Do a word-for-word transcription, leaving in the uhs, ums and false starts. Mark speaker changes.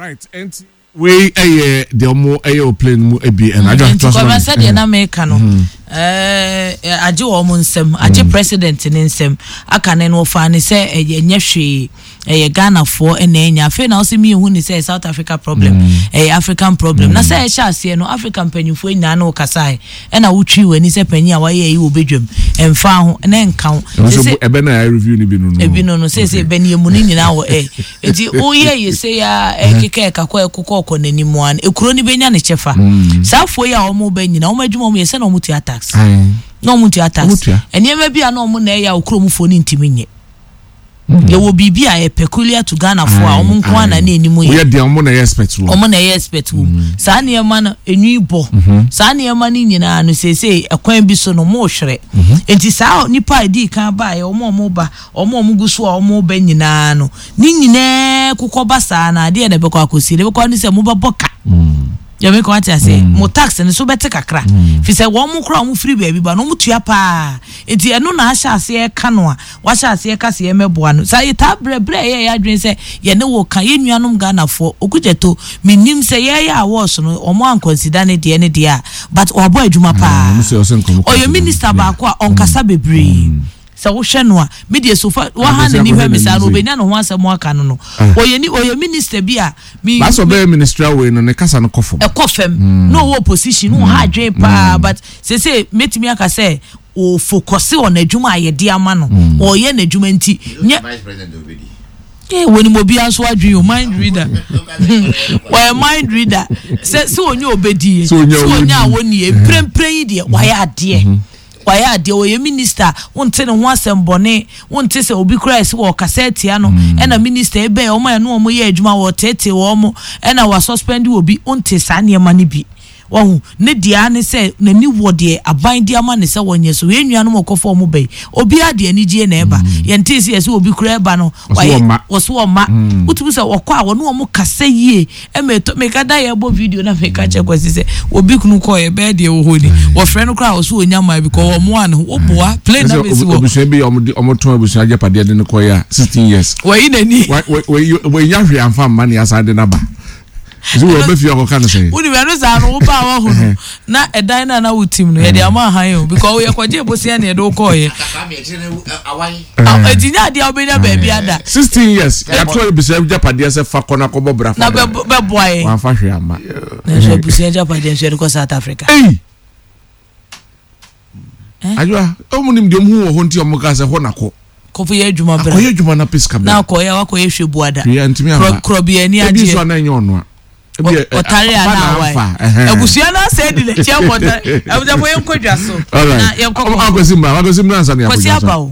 Speaker 1: Right, nti wei ɛyɛ deɛ ɔmo ɛyɛ wɔ plane mu ebi ɛna adwa
Speaker 2: Nti
Speaker 1: to aso
Speaker 2: kɔbra
Speaker 1: ma me.
Speaker 2: sɛdeɛ na meka no, ɛɛ, agye wɔn nsɛm, agye president ne nsɛm aka ne no, wɔfa ne sɛ ɛyɛ nyɛ hwee, ɛyɛ Ghanafoɔ ɛna ɛnya. Afei na ɔsɛ miihu ne sɛ South Africa problem, ɛyɛ African problem. Na sɛ ɛhyɛ aseɛ no, Africa mpanyinfoɔ nyinaa ne wɔkasae, ɛna wotwi w'ani sɛ panyin a wayɛ yi wɔ bedwam ɛmfa ho na ɛnka ho.
Speaker 1: Ɛno nso
Speaker 2: Sese-
Speaker 1: ɛbɛ na yɛ review ni bi no no.
Speaker 2: Ebi no no sese bɛ ne emu ne nyinaa wɔ ɛ eti woyɛ yɛ se ya ɛkeka ɛkakɔ ɛkokɔ ɔkɔ n'anim a, ekuro no bɛnya ne kyɛfa. Saa afoɔ yi a wɔn bɛ nyinaa, wɔn adwuma wɔn yɛ sɛ na wɔn tua tax.
Speaker 1: Aye.
Speaker 2: Na wɔn tua tax.
Speaker 1: Wɔn tua.
Speaker 2: Nneɛma bi a na wɔn na ɛyɛ a okuro mu foɔ ne ntumi nyɛ, yɛwɔ biribi a yɛ peculiar to Ghana foɔ a wɔn nko ara na ne anim yɛ.
Speaker 1: Woyɛ deɛ ɔmo na ɛyɛ expert wɔ.
Speaker 2: Wɔn na ɛyɛ expert wɔ mu. Saa nneɛma no enwi bɔ saa nneɛma no nyinaa no, seesei ɛkwan bi so no mo hwere. Nti saa nipa a edi kan baeɛ, wɔn a wɔn ba, wɔn a wɔn gu so a wɔn ba nyinaa no, ne nyinaa kokɔ ba saa na adeɛ na ɛbɛkɔ akɔsi na ɛbɛkɔ ne sɛ mo bɛbɔ ka yɛmɛ kɔ ate ase, mo tax no so bɛte kakra, fi sɛ wɔn mo kora wɔn firi baabi ba no, wɔn tua paa. Nti ɛno na ahyɛ aseɛ ka no a wahyɛ aseɛ ka seɛ mɛboa no saa. Yɛtaa brɛ brɛ yɛ yɛ adwene sɛ yɛne wɔ ka yɛn nuanom Ghanafoɔ Okudzeto. Menim sɛ yɛyɛ awards no, wɔn ankɔnsida ne deɛ ne deɛ a, but wabɔ adwuma paa.
Speaker 1: Ɔmo sɛ ɔsɛ nkɔmɔ.
Speaker 2: Ɔyɛ minister baako a ɔnkasa bebree. Sɛ wohwɛ no a, medeɛ sofa waha n'ani hwɛ me saa no, obɛnya ne ho asɛm aka no no Ɔyɛ ni, ɔyɛ minister bi a mi
Speaker 1: Baasa ɔbɛyɛ ministerial wei no, ne kasa no kɔ fam.
Speaker 2: Ɛkɔ fam na ɔwɔ opposition na ɔha adwene paa, but sese mɛtumi aka sɛ ɔfocus wɔ n'adwuma a yɛde ama no, ɔyɛ n'adwuma nti nyɛ
Speaker 3: Vice president obedi.
Speaker 2: Eh, wɔnim obiara nso adwene o, mind reader, wɔyɛ mind reader sɛ sɛ onye obedie.
Speaker 1: Sɛ onye a
Speaker 2: sɛ onye a
Speaker 1: wɔnni.
Speaker 2: wɔnnie mprempren yi deɛ, wayɛ adeɛ, wayɛ adeɛ. Wɔyɛ minister, wonte ne ho asɛm bɔne, wonte sɛ obi koraa ɛsɛ wɔ ɔkasa atia no. Ɛna minister ebɛn wɔn a ɛno wɔn yɛ adwuma, wɔtete wɔn ɛna wasuspend obi, wonte saa nneɛma no bi. Wɔho ne deɛ ne sɛ n'ani wɔ deɛ aban de ama ne sɛ wɔnyɛ so. Yɛn nuanom ɔkɔfo ɔmo bɛyi, obiara de anigye na ɛba. Yɛnte sɛ yɛsɛ obi koraa ɛba no
Speaker 1: Ɔso
Speaker 2: wayɛ-
Speaker 1: wɔmma.
Speaker 2: Wɔso wɔmma. Wotumi sɛ wɔkɔ a, wɔne wɔn kasa yie. Ɛma ɛtɔ meka da yɛbɔ video na meka kyɛ Kwasi sɛ obi kunu kɔɔ yɛ bɛyɛ deɛ wɔ hɔ ni, wɔfrɛ no koraa, ɔso wɔnya maa bi kɔ wɔn mo a ne ho woboa plane na
Speaker 1: Ɛsɛ
Speaker 2: bɛsi wɔ
Speaker 1: abusua bi a ɔmo de ɔmo tɔn abusua agyapadeɛ de no kɔ yɛ a sixteen years.
Speaker 2: Wɔyi n'ani.
Speaker 1: Wa wa wɔnya hwee anfa mma ne asan de n'aba. Nti wɔ bɛ fie akɔka no sɛn?
Speaker 2: Wonim ɛno saa no, woba a wahu no na ɛdan no a na wotim no yɛde ama ahan o, because woyɛ kɔgye bosia ne yɛde wokɔɔyɛ.
Speaker 3: Atakra mi akyire no awan.
Speaker 2: Ɛnti nyɛ adeɛ a wobɛnya baabi ada.
Speaker 1: Sixteen years yàtɔ abusua agyapadeɛ sɛ fa kɔ na kɔbɔ bra fa
Speaker 2: na
Speaker 1: bra.
Speaker 2: bɛb- bɛboa yɛn.
Speaker 1: Wamfa hwee amma.
Speaker 2: Nanso abusua agyapadeɛ nso yɛde kɔ South Africa.
Speaker 1: Ei!
Speaker 2: Eh?
Speaker 1: Adwoa, ɔmo nim deɛ ɔmo hu wɔ hɔ nti ɔmo ka sɛ hɔ na kɔ.
Speaker 2: Kɔfo yɛ adwuma bra.
Speaker 1: Akɔyɛ adwuma na pɛ sika
Speaker 2: Na
Speaker 1: bra.
Speaker 2: akɔyɛ wakɔyɛ hwɛ buada.
Speaker 1: Hwee antumi amma.
Speaker 2: Korɔbea ani
Speaker 1: Ebi nso
Speaker 2: agyeɛ.
Speaker 1: ana ɛnyɛ ɔno a. Ebi yɛ, ɛ,
Speaker 2: Ɔtare a
Speaker 1: ɔfa
Speaker 2: na
Speaker 1: na
Speaker 2: awae.
Speaker 1: amfa, ɛhɛn.
Speaker 2: Abusua no asɛ di n'akyi akɔtare. Abusuafo, yɛnkɔ dwa so.
Speaker 1: All right.
Speaker 2: Na yɛnkɔ
Speaker 1: Ɔmo akwasi mmra, akwasi mmra ansa na yɛakɔ
Speaker 2: Kwasi
Speaker 1: dwa so.
Speaker 2: aba o.